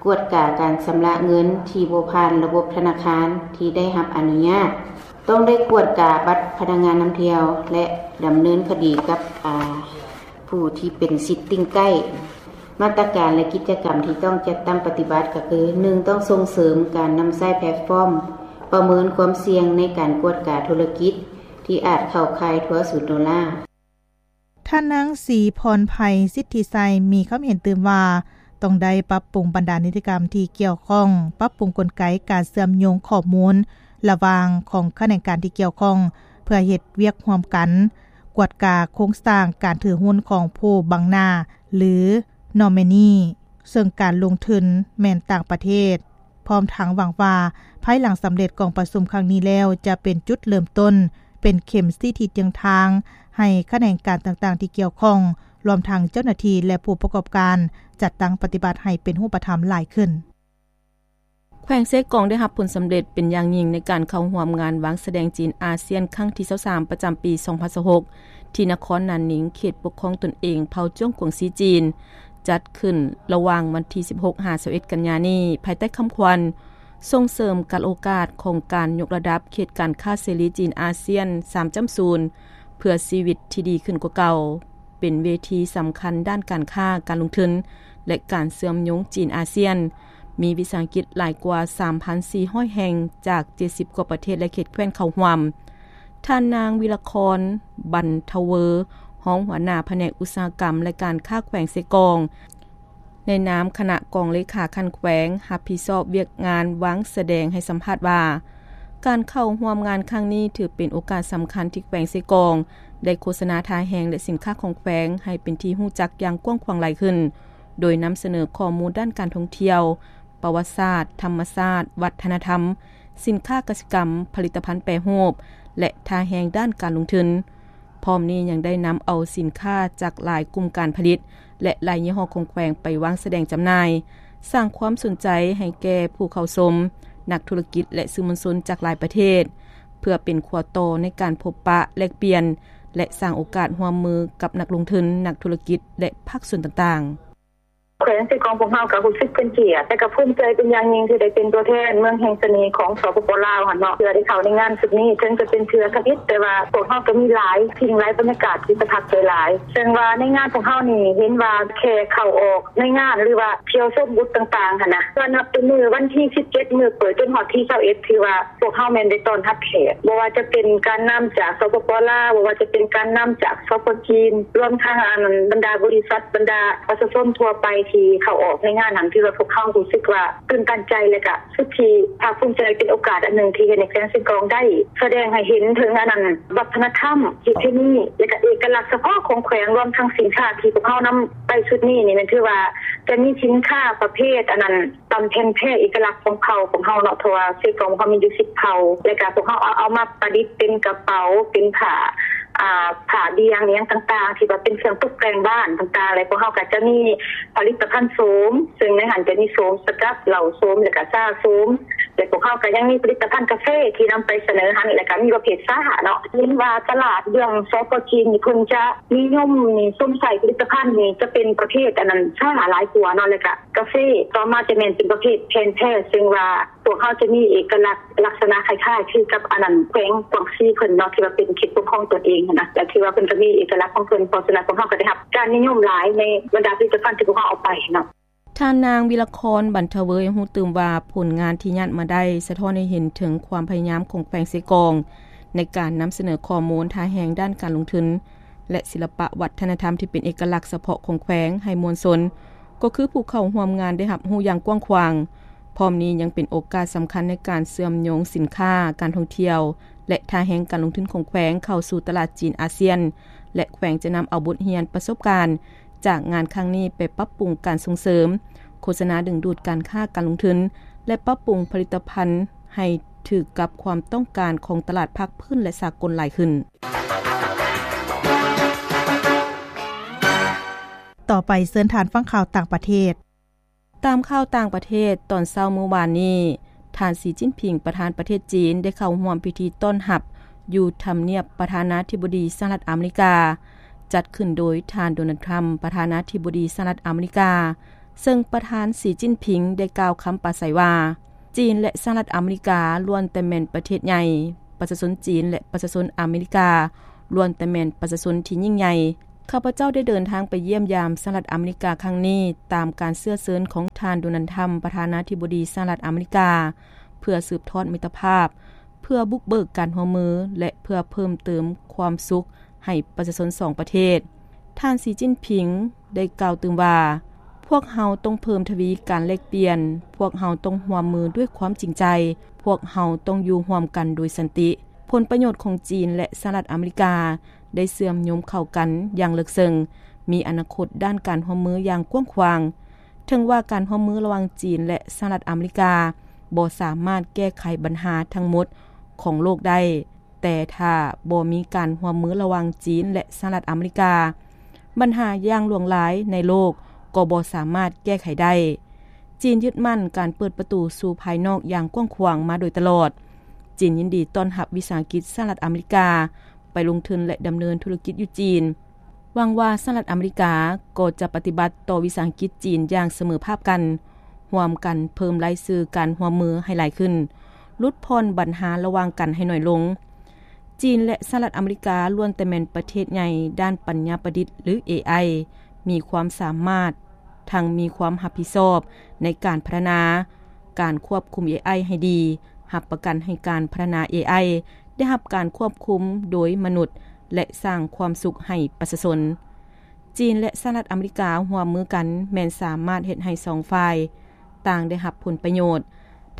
ກວດກາການຊຳລະເງິນທີ່ບໍ່ຜ່ານລະບົບທະນາຄານທີ່ໄດ້ຮັບອະນຸຍາດ, ຕ້ອງໄດ້ກວດກາບັດພະນັກງານນຳທ່ຽວ ແລະ ດຳເນີນຄະດີກັບ ອາ ຜູ້ທີ່ເປັນສິດຕິງໃກ້. ມາດຕະການ ແລະ ກິດຈະກຳທີ່ຕ້ອງຈັດຕັ້ງປະຕິບັດກໍຄື ໜຶ່ງ ຕ້ອງສົ່ງເສີມການນຳໃຊ້ແພລດຟອມປະເມີນຄວາມສ່ຽງໃນການກວດກາທຸລະກິດທີ່ອາດເຂົ້າຂ່າຍທົວສູນໂດລາ. ທ່ານນາງ ສີພອນໄພ ສິດທິໄຊ ມີຄຳເຫັນຕື່ມວ່າ ຕ້ອງໄດ້ປັບປຸງບັນດານິຕິກຳທີ່ກ່ຽວຂ້ອງ, ປັບປຸງກົນໄກການເຊື່ອມໂຍງຂໍ້ມູນລະຫວ່າງຂອງຂະແໜງການທີ່ກ່ຽວຂ້ອງ ເພື່ອເຮັດວຽກຮ່ວມກັນ, ກວດກາໂຄງສ້າງການຖືຫຸ້ນຂອງຜູ້ບັງໜ້າ ຫຼື ນອມເມນີ, ເຊິ່ງການລົງທຶນແມ່ນຕ່າງປະເທດ, ພ້ອມທັງຫວັງວ່າ ພາຍຫຼັງສຳເລັດກອງປະຊຸມຄັ້ງນີ້ແລ້ວ ຈະເປັນຈຸດເລີ່ມຕົ້ນ, ເປັນເຂັມຊີ້ທິດທາງ ໃຫ້ຂະແໜງການຕ່າງໆທີ່ກ່ຽວຂ້ອງ, ລວມທັງເຈົ້າໜ້າທີ່ ແລະ ຜູ້ປະກອບການ ຈັດຕັ້ງປະຕິບັດໃຫ້ເປັນຮູບປະທຳຫຼາຍຂຶ້ນ. ແຂວງເຊກອງໄດ້ຮັບຜົນສຳເລັດເປັນຢ່າງຍິ່ງໃນການເຂົ້າຮ່ວມງານວາງສະແດງຈີນອາຊຽນຄັ້ງທີຊາວສາມ ປະຈຳປີສອງພັນຊາວຫົກ ທີ່ນະຄອນນານນິງ, ເຂດປົກຄອງຕົນເອງເຜົ່າຈວງກວງຊີຈີນ, ຈັດຂຶ້ນລະຫວ່າງວັນທີສິບຫົກ ຫາ ຊາວເອັດ ກັນຍານີ້, ພາຍໃຕ້ຄຳຂວັນ ສົ່ງເສີມການໂອກາດຂອງການຍົກລະດັບເຂດການຄ້າເສລີຈີນອາຊຽນ ສາມຈຸດສູນ ເພື່ອຊີວິດທີ່ດີຂຶ້ນກວ່າເກົ່າ, ເປັນເວທີສຳຄັນດ້ານການຄ້າ, ການລົງທຶນ ແລະ ການເຊື່ອມໂຍງຈີນອາຊຽນ, ມີວິສາຫະກິດຫຼາຍກວ່າສາມພັນສີ່ຮ້ອຍແຫ່ງ ຈາກເຈັດສິບກວ່າປະເທດ ແລະ ເຂດແຄວ້ນເຂົ້າຮ່ວມ. ທ່ານນາງ ວິລະຄອນ ບັນທະເວີ ຮອງຫົວໜ້າພະແນກອຸດສາຫະກຳ ແລະ ການຄ້າແຂວງເຊກອງ ໃນນາມຄະນະກອງເລຂາຂັ້ນແຂວງ ຮັບຜິດຊອບວຽກງານວາງສະແດງ ໃຫ້ສຳພາດວ່າ ການເຂົ້າຮ່ວມງານຄັ້ງນີ້ ຖືເປັນໂອກາດສຳຄັນທີ່ແຂວງເຊກອງ ໄດ້ໂຄສະນາທ່າແຮງ ແລະ ສິນຄ້າຂອງແຂວງ ໃຫ້ເປັນທີ່ຮູ້ຈັກຢ່າງກວ້າງຂວາງຫຼາຍຂຶ້ນ, ໂດຍນຳສະເໜີຂໍ້ມູນດ້ານການທ່ອງທ່ຽວ, ປະຫວັດສາດ, ທຳມະຊາດ, ວັດທະນະທຳ, ສິນຄ້າກະສິກຳ, ຜະລິດຕະພັນແປຮູບ ແລະ ທ່າແຮງດ້ານການລົງທຶນ. ພ້ອມນີ້ຍັງໄດ້ນຳເອົາສິນຄ້າຈາກຫຼາຍກຸ່ມການຜະລິດ ແລະ ຫຼາຍຍີ່ຫໍ້ຂອງແຂວງໄປວາງສະແດງຈຳໜ່າຍ, ສ້າງຄວາມສົນໃຈໃຫ້ແກ່ຜູ້ເຂົ້າຊົມ, ນັກທຸລະກິດ ແລະ ສື່ມວນຊົນຈາກຫຼາຍປະເທດ, ເພື່ອເປັນຂົວຕໍ່ໃນການພົບປະແລກປ່ຽນ ແລະ ສ້າງໂອກາດຮ່ວມມືກັບນັກລົງທຶນ, ນັກທຸລະກິດ ແລະ ພາກສ່ວນຕ່າງໆ. ແຂວງເຊກອງພວກເຮົາກໍຮູ້ສຶກເປັນກຽດ ແລະ ກໍພູມໃຈເປັນຢ່າງຍິ່ງທີ່ໄດ້ເປັນຕົວແທນເມືອງແຫ່ງສະເໜ່ຂອງ ສປປ ລາວ ຫັ້ນເນາະ ເທື່ອໄດ້ເຂົ້າໃນງານຊຸດນີ້. ເຖິງຈະເປັນເທື່ອທຳອິດ ແຕ່ວ່າພວກເຮົາກໍມີຫຼາຍສິ່ງ, ຫຼາຍບັນຍາກາດທີ່ປະທັບໃຈຫຼາຍ. ເຊິ່ງວ່າໃນງານພວກເຮົານີ້ເຫັນວ່າແຄ່ເຂົ້າອອກໃນງານ ຫຼືວ່າທ່ຽວຊົມບູດຕ່າງໆ ຫັ້ນນະ, ເພື່ອນັບແຕ່ມື້ວັນທີສິບເຈັດ ມື້ເປີດ ຈົນຮອດທີຊາວເອັດ ຖືວ່າ ພວກເຮົາແມ່ນໄດ້ຕ້ອນຮັບແຂກ, ບໍ່ວ່າຈະເປັນການນຳຈາກ ສປປ ລາວ, ບໍ່ວ່າຈະເປັນການນຳຈາກ ສປ ຈີນ, ລວມທັງ ອັນ ບັນດາບໍລິສັດ, ບັນດາປະຊາຊົນທົ່ວໄປທີ່ເຂົ້າອອກໃນງານນັ້ນ, ຖືວ່າພວກເຮົາຮູ້ສຶກວ່າຕື່ນຕັນໃຈ ແລະ ກະສຸດທີ່ພາກພູມໃຈ. ເປັນໂອກາດອັນໜຶ່ງທີ່ເຮັດໃຫ້ແຂວງເຊກອງໄດ້ສະແດງໃຫ້ເຫັນເຖິງ ອັນນັ້ນ ວັດທະນະທຳ, ປະເພນີ ແລະ ກະເອກະລັກສະເພາະຂອງແຂວງ, ລວມທັງສິນຄ້າທີ່ພວກເຮົານຳໄປຊຸດນີ້ນີ້ ແມ່ນຖືວ່າຈະມີສິນຄ້າປະເພດ ອັນນັ້ນ ຕຳແຜ່ນແພເອກະລັກຂອງເຜົ່າຂອງເຮົາເນາະ, ເພາະວ່າເຊກອງເຮົາມີຢູ່ສິບເຜົ່າ, ແລ້ວກະພວກເຮົາເອົາ ເອົາມາປະດິດເປັນກະເປົາ, ເປັນຜ້າ ອ່າ ຜ້າບ່ຽງ ອີ່ຫຍັງຕ່າງໆ ທີ່ວ່າເປັນເຄື່ອງຕົກແຕ່ງບ້ານຕ່າງໆ, ແລະ ພວກເຮົາກະຈະມີຜະລິດຕະພັນໂສມ, ເຊິ່ງໃນຫັ້ນຈະມີໂສມສະກັດ, ເຫຼົ້າໂສມ ແລ້ວກະຊາໂສມ, ແລະ ພວກເຮົາກະຍັງມີຜະລິດຕະພັນກາເຟທີ່ນຳໄປສະເໜີຫັ້ນ, ແລ້ວກະມີປະເພດຊາເນາະ. ເຫັນວ່າຕະຫຼາດເລື່ອງ ສປ ຈີນ ນີ້ ເພິ່ນຈະນິຍົມນີ້ ຊົມໃຊ້ຜະລິດຕະພັນນີ້ ຈະເປັນປະເພດ ອັນນັ້ນ ຊາຫຼາຍກວ່າເນາະ, ແລ້ວກະ ກາເຟ, ຕໍ່ມາຈະແມ່ນເປັນປະເພດແຜ່ນແພ, ເຊິ່ງວ່າພວກເຮົາຈະມີເອກະລັກລັກສະນະຄ້າຍໆຄືກັບ ອັນນັ້ນ ແຂວງກວາງຊີເພິ່ນເນາະ ທີ່ວ່າເປັນເຂດປົກຄອງຕົນເອງຫັ້ນນະ, ແລະ ຖືວ່າເພິ່ນກໍມີເອກະລັກຂອງເພິ່ນ, ເພາະສະນັ້ນພວກເຮົາກໍໄດ້ຮັບການນິຍົມຫຼາຍໃນບັນດາຜະລິດຕະພັນທີ່ພວກເຮົາເອົາໄປເນາະ. ທ່ານນາງ ວິລະຄອນ ບັນທະເວີ ຍັງຮູ້ຕື່ມວ່າ ຜົນງານທີ່ຍາດມາໄດ້ສະທ້ອນໃຫ້ເຫັນເຖິງຄວາມພະຍາຍາມຂອງແຂວງເຊກອງ ໃນການນຳສະເໜີຂໍ້ມູນທ່າແຮງດ້ານການລົງທຶນ ແລະ ສິລະປະວັດທະນະທຳທີ່ເປັນເອກະລັກສະເພາະຂອງແຂວງໃຫ້ມວນຊົນ, ກໍຄືຜູ້ເຂົ້າຮ່ວມງານໄດ້ຮັບຮູ້ຢ່າງກວ້າງຂວາງ. ພ້ອມນີ້ຍັງເປັນໂອກາດສຳຄັນໃນການເຊື່ອມໂຍງສິນຄ້າ, ການທ່ອງທ່ຽວ ແລະ ທ່າແຮງການລົງທຶນຂອງແຂວງເຂົ້າສູ່ຕະຫຼາດຈີນອາຊຽນ ແລະ ແຂວງຈະນຳເອົາບົດຮຽນປະສົບການຈາກງານຄັ້ງນີ້ໄປປັບປຸງການສົ່ງເສີມ, ໂຄສະນາດຶງດູດການຄ້າການລົງທຶນ ແລະ ປັບປຸງຜະລິດຕະພັນໃຫ້ຖືກກັບຄວາມຕ້ອງການຂອງຕະຫຼາດພາກພື້ນ ແລະ ສາກົນຫຼາຍຂຶ້ນ. ຕໍ່ໄປເຊີນທ່ານຟັງຂ່າວຕ່າງປະເທດ. ຕາມຂ່າວຕ່າງປະເທດ, ຕອນເຊົ້າມື້ວານນີ້, ທ່ານ ສີ ຈິ້ນຜິງ ປະທານປະເທດຈີນ ໄດ້ເຂົ້າຮ່ວມພິທີຕ້ອນຮັບຢູ່ທຳນຽບປະທານາທິບໍດີສະຫະລັດອາເມລິກາ, ຈັດຂຶ້ນໂດຍທ່ານ ໂດນັລ ທຣຳ ປະທານາທິບໍດີສະຫະລັດອາເມລິກາ, ເຊິ່ງປະທານ ສີ ຈິ້ນຜິງ ໄດ້ກ່າວຄຳປາໄສວ່າ, ຈີນ ແລະ ສະຫະລັດອາເມລິກາ ລ້ວນແຕ່ແມ່ນປະເທດໃຫຍ່, ປະຊາຊົນຈີນ ແລະ ປະຊາຊົນອາເມລິກາ ລ້ວນແຕ່ແມ່ນປະຊາຊົນທີ່ຍິ່ງໃຫຍ່. ຂ້າພະເຈົ້າໄດ້ເດີນທາງໄປຢ້ຽມຢາມສະຫະລັດອາເມລິກາຄັ້ງນີ້ ຕາມການເຊື້ອເຊີນຂອງທ່ານ ໂດນັລ ທຣຳ ປະທານາທິບໍດີສະຫະລັດອາເມລິກາ, ເພື່ອສືບທອດມິດຕະພາບ, ເພື່ອບຸກເບີກການຮ່ວມມື ແລະ ເພື່ອເພີ່ມເຕີມຄວາມສຸກໃຫ້ປະຊາຊົນສອງປະເທດ. ທ່ານ ສີ ຈິ້ນຜິງ ໄດ້ກ່າວຕື່ມວ່າ, ພວກເຮົາຕ້ອງເພີ່ມທະວີການແລກປ່ຽນ, ພວກເຮົາຕ້ອງຮ່ວມມືດ້ວຍຄວາມຈິງໃຈ, ພວກເຮົາຕ້ອງຢູ່ຮ່ວມກັນໂດຍສັນຕິ. ຜົນປະໂຫຍດຂອງຈີນ ແລະ ສະຫະລັດອາເມລິກາ ໄດ້ເຊື່ອມໂຍງເຂົ້າກັນຢ່າງເລິກເຊິ່ງ, ມີອະນາຄົດດ້ານການຮ່ວມມືຢ່າງກວ້າງຂວາງ. ເຖິງວ່າການຮ່ວມມືລະຫວ່າງຈີນ ແລະ ສະຫະລັດອາເມລິກາ ບໍ່ສາມາດແກ້ໄຂບັນຫາທັງໝົດຂອງໂລກໄດ້, ແຕ່ຖ້າບໍ່ມີການຮ່ວມມືລະຫວ່າງຈີນ ແລະ ສະຫະລັດອາເມລິກາ, ບັນຫາຢ່າງຫຼວງຫຼາຍໃນໂລກກໍບໍ່ສາມາດແກ້ໄຂໄດ້. ຈີນຍຶດໝັ້ນການເປີດປະຕູສູ່ພາຍນອກຢ່າງກວ້າງຂວາງມາໂດຍຕະຫຼອດ. ຈີນຍິນດີຕ້ອນຮັບວິສາຫະກິດສະຫະລັດອາເມລິກາໄປລົງທຶນ ແລະ ດຳເນີນທຸລະກິດຢູ່ຈີນ. ຫວັງວ່າສະຫະລັດອາເມລິກາກໍຈະປະຕິບັດຕໍ່ວິສາຫະກິດຈີນຢ່າງສະເໝີພາບກັນ, ຮ່ວມກັນເພີ່ມລາຍຊື່ການຮ່ວມມືໃຫ້ຫຼາຍຂຶ້ນ, ຫຼຸດຜ່ອນບັນຫາລະຫວ່າງກັນໃຫ້ໜ້ອຍລົງ. ຈີນ ແລະ ສະຫະລັດອາເມລິກາ ລ້ວນແຕ່ແມ່ນປະເທດໃຫຍ່ດ້ານປັນຍາປະດິດ ຫຼື ເອໄອ, ມີຄວາມສາມາດ, ທັງມີຄວາມຮັບຜິດຊອບໃນການພັດທະນາ, ການຄວບຄຸມເອໄອໃຫ້ດີ, ຮັບປະກັນໃຫ້ການພັດທະນາເອໄອໄດ້ຮັບການຄວບຄຸມໂດຍມະນຸດ ແລະ ສ້າງຄວາມສຸກໃຫ້ປະຊາຊົນ. ຈີນ ແລະ ສະຫະລັດອາເມລິກາຮ່ວມມືກັນ ແມ່ນສາມາດເຮັດໃຫ້ສອງຝ່າຍຕ່າງໄດ້ຮັບຜົນປະໂຫຍດ.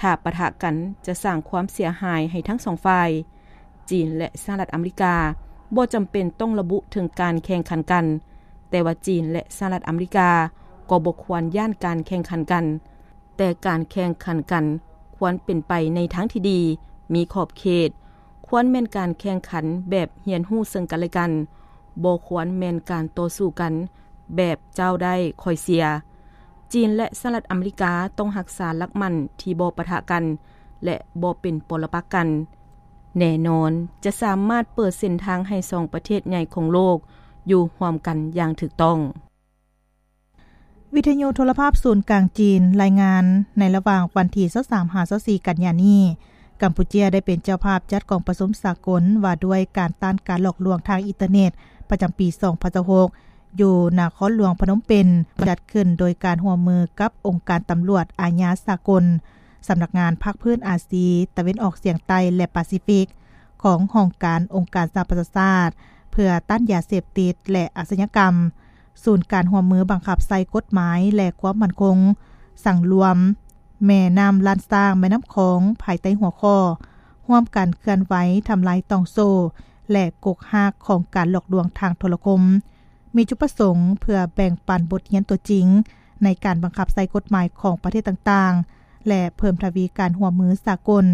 ຖ້າປະທະກັນຈະສ້າງຄວາມເສຍຫາຍໃຫ້ທັງສອງຝ່າຍ. ຈີນ ແລະ ສະຫະລັດອາເມລິກາບໍ່ຈຳເປັນຕ້ອງລະບຸເຖິງການແຂ່ງຂັນກັນ, ແຕ່ວ່າຈີນ ແລະ ສະຫະລັດອາເມລິກາກໍບໍ່ຄວນຢ້ານການແຂ່ງຂັນກັນ, ແຕ່ການແຂ່ງຂັນກັນຄວນເປັນໄປໃນທາງທີ່ດີ, ມີຂອບເຂດ, ຄວນແມ່ນການແຂ່ງຂັນແບບຮຽນຮູ້ເຊິ່ງກັນແລະກັນ, ບໍ່ຄວນແມ່ນການຕໍ່ສູ້ກັນແບບເຈົ້າໄດ້ຂ້ອຍເສຍ. ຈີນ ແລະ ສະຫະລັດອາເມລິກາຕ້ອງຮັກສາຫຼັກໝັ້ນທີ່ບໍ່ປະທະກັນ ແລະ ບໍ່ເປັນປໍລະປັກກັນ. ແນ່ນອນຈະສາມາດເປີດເສັ້ນທາງໃຫ້ສອງປະເທດໃຫຍ່ຂອງໂລກຢູ່ຮ່ວມກັນຢ່າງຖືກຕ້ອງ. ວິທະຍຸໂທລະພາບສູນກາງຈີນລາຍງານ, ໃນລະຫວ່າງວັນທີຊາວສາມຫາຊາວສີ່ກັນຍານີ້, ກຳປູເຈຍໄດ້ເປັນເຈົ້າພາບຈັດກອງປະຊຸມສາກົນວ່າດ້ວຍການຕ້ານການຫຼອກລວງທາງອິນເຕີເນັດປະຈຳປີສອງພັນຊາວຫົກ ຢູ່ນະຄອນຫຼວງພະນົມເປັນ, ຈັດຂຶ້ນໂດຍການຮ່ວມມືກັບອົງການຕຳຫຼວດອາຍາສາກົນ, ສຳນັກງານພາກພື້ນອາຊີຕາເວັນອອກສຽງໃຕ້ ແລະ ປາຊີຟິກ ຂອງຫ້ອງການອົງການສະຫະປະຊາຊາດ ເພື່ອຕ້ານຢາເສບຕິດ ແລະ ອາຊະຍາກຳ, ສູນການຮ່ວມມືບັງຄັບໃຊ້ກົດໝາຍ ແລະ ຄວາມໝັ້ນຄົງສັງລວມແມ່ນ້ຳລ້ານຊ້າງ, ແມ່ນ້ຳຂອງ ພາຍໃຕ້ຫົວຂໍ້ ຮ່ວມກັນເຄື່ອນໄຫວທຳລາຍຕ່ອງໂສ້ ແລະ ກົກຮາກຂອງການຫຼອກລວງທາງໂທລະຄົມ. ມີຈຸດປະສົງເພື່ອແບ່ງປັນບົດຮຽນຕົວຈິງໃນການບັງຄັບໃຊ້ກົດໝາຍຂອງປະເທດຕ່າງໆ ແລະ ເພີ່ມທະວີການຮ່ວມມືສາກົນ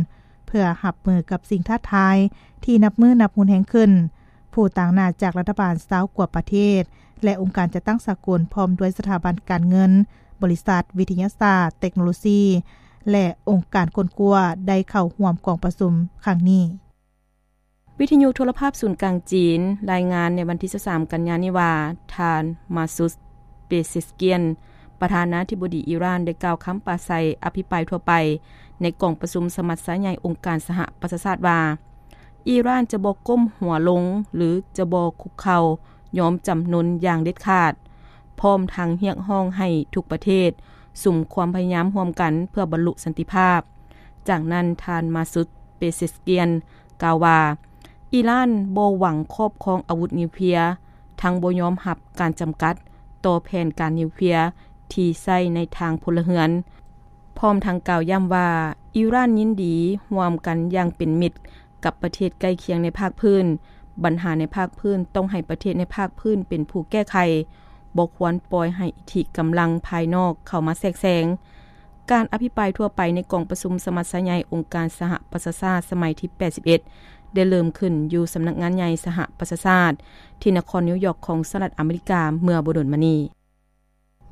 ເພື່ອຮັບມືກັບສິ່ງທ້າທາຍທີ່ນັບມື້ນັບຮຸນແຮງຂຶ້ນ. ຜູ້ຕາງໜ້າຈາກລັດຖະບານຊາວກວ່າປະເທດ ແລະ ອົງການຈັດຕັ້ງສາກົນ ພ້ອມດ້ວຍສະຖາບັນການເງິນ, ບໍລິສັດ, ວິທະຍາສາດ, ເຕັກໂນໂລຊີ ແລະ ອົງການຄົ້ນຄວ້າ ໄດ້ເຂົ້າຮ່ວມກອງປະຊຸມຄັ້ງນີ້. ວິທະຍຸໂທລະພາບສູນກາງຈີນລາຍງານໃນວັນທີຊາວສາມກັນຍານີ້ວ່າ ທ່ານ ມາຊູດ ເປເຊສກຽນ ປະທານາທິບໍດີອີຣານ ໄດ້ກ່າວຄຳປາໄສອະພິປາຍທົ່ວໄປໃນກອງປະຊຸມສະມັດຊາໃຫຍ່ອົງການສະຫະປະຊາຊາດວ່າ ອີຣານຈະບໍ່ກົ້ມຫົວລົງ ຫຼື ຈະບໍ່ຄຸກເຂົ່າຍອມຈຳນົນຢ່າງເດັດຂາດ, ພ້ອມທັງຮຽກຮ້ອງໃຫ້ທຸກປະເທດສຸມຄວາມພະຍາຍາມຮ່ວມກັນເພື່ອບັນລຸສັນຕິພາບ. ຈາກນັ້ນ ທ່ານ ມາຊູດ ເປເຊສກຽນ ກ່າວວ່າ ອີຣານບໍ່ຫວັງຄອບຄອງອາວຸດນິວເຄລຍ, ທັງບໍ່ຍອມຮັບການຈຳກັດຕໍ່ແຜນການນິວເຄລຍທີ່ໃຊ້ໃນທາງພົນລະເຮືອນ, ພ້ອມທັງກ່າວຢ້ຳວ່າ ອີຣານຍິນດີຮ່ວມກັນຢ່າງເປັນມິດກັບປະເທດໃກ້ຄຽງໃນພາກພື້ນ. ບັນຫາໃນພາກພື້ນຕ້ອງໃຫ້ປະເທດໃນພາກພື້ນເປັນຜູ້ແກ້ໄຂ, ບໍ່ຄວນປ່ອຍໃຫ້ອິດທິກຳລັງພາຍນອກເຂົ້າມາແຊກແຊງ. ການອະພິປາຍທົ່ວໄປໃນກອງປະຊຸມສະມັດຊາໃຫຍ່ອົງການສະຫະປະຊາຊາດສະໄໝທີແປດສິບເອັດ ໄດ້ເລີ່ມຂຶ້ນຢູ່ສຳນັກງານໃຫຍ່ສະຫະປະຊາຊາດ ທີ່ນະຄອນນິວຢອກຂອງສະຫະລັດອາເມລິກາເມື່ອບໍ່ດົນມານີ້.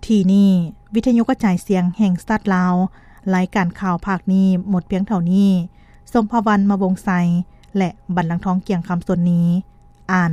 ທີ່ນີ້ ວິທະຍຸກະຈາຍສຽງແຫ່ງຊາດລາວ, ລາຍການຂ່າວພາກນີ້ໝົດພຽງເທົ່ານີ້. ສົມພະວັນ ມະວົງໄຊ ແລະ ບັນລັງທອງ ກຽງຄຳ ສົນນີ ອ່ານ.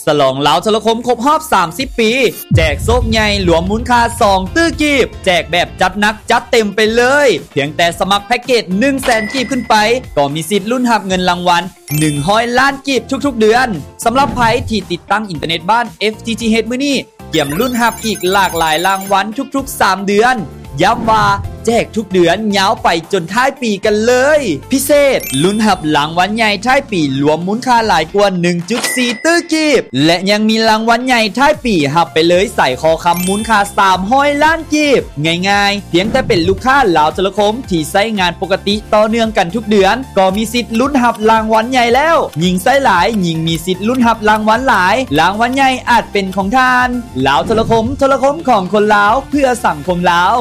ສະຫຼອງລາວໂທລະຄົມຄົບຮອບສາມສິບປີ, ແຈກໂຊກໃຫຍ່ລວມມູນຄ່າສອງຕື້ກີບ, ແຈກແບບຈັດໜັກຈັດເຕັມໄປເລີຍ. ພຽງແຕ່ສະໝັກແພັກເກດໜຶ່ງແສນກີບຂຶ້ນໄປ ກໍມີສິດລຸ້ນຮັບເງິນລາງວັນໜຶ່ງຮ້ອຍລ້ານກີບທຸກໆເດືອນ. ສຳລັບໃຜທີ່ຕິດຕັ້ງອິນເຕີເນັດບ້ານ ເອັຟ ທີ ທີ ເອັດ ມື້ນີ້, ກຽມລຸ້ນຮັບອີກຫຼາກຫຼາຍລາງວັນທຸກໆສາມເດືອນ. ຢ້ຳວ່າແຈກທຸກເດືອນຍາວໄປຈົນທ້າຍປີກັນເລີຍ. ພິເສດ, ລຸ້ນຮັບລາງວັນໃຫຍ່ທ້າຍປີລວມມູນຄ່າຫຼາຍກວ່າໜຶ່ງຈຸດສີ່ຕື້ກີບ ແລະ ຍັງມີລາງວັນໃຫຍ່ທ້າຍປີຮັບໄປເລີຍສາຍຄໍຄຳມູນຄ່າສາມຮ້ອຍລ້ານກີບ. ງ່າຍໆ, ພຽງແຕ່ເປັນລູກຄ້າລາວໂທລະຄົມທີ່ໃຊ້ງານປົກກະຕິຕໍ່ເນື່ອງກັນທຸກເດືອນ ກໍມີສິດລຸ້ນຮັບລາງວັນໃຫຍ່ແລ້ວ. ຍິ່ງໃຊ້ຫຼາຍ, ຍິ່ງມີສິດລຸ້ນຮັບລາງວັນຫຼາຍ. ລາງວັນໃຫຍ່ອາດເປັນຂອງທ່ານ. ລາວໂທລະຄົມ, ໂທລະຄົມຂອງຄົນລາວ, ເພື່ອສັງຄົມລາວ.